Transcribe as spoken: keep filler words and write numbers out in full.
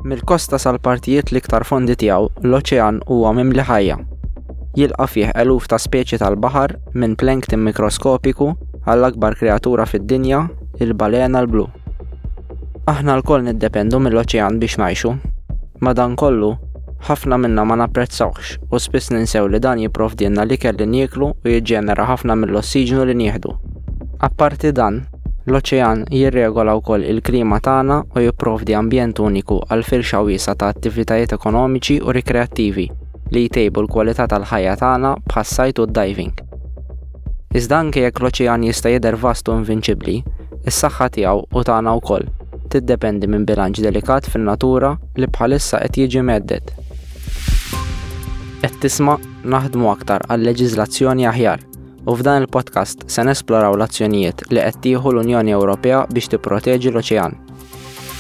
Mill-kosta sal-partijiet l-iktar fondi tiegħu, l-oċean huwa mimli ħajja. Jilqa' fih eluf ta' speċi tal-baħar minn plankton mikroskopiku għall-akbar kreatura fid-dinja, il-balena l-blu. Aħna lkoll niddependu mill-oċean biex ngħixu. Madankollu, ħafna minna ma napprezzawhx u spiss ninsew li dan jipprovdilna l-ikel li nieklu u jiġġenera ħafna mill-ossiġnu li nieħdu. Apparti dan, l-oċean jirregola wkoll il-klima tagħna u jipprovdi ambjent uniku għal firxa wiesgħa ta' attivitajiet ekonomiċi u rikreattivi li jtejbu l-kwalità tal-ħajja tagħna bħas-sajd u d-diving. Iżda anke jekk l-oċean jista' jidher vast u invinċibbli, is-saħħa tiegħu u tagħna wkoll tiddependi minn bilanċ delikat fin-natura li bħalissa qed jiġi mhedded. Qed tisma' naħdmu aktar għal leġiżlazzjoni aħjar u f'dan il-podcast se nesploraw l-azzjonijiet li qed tieħu l-Unjoni Ewropea biex tipproteġi l-oċean.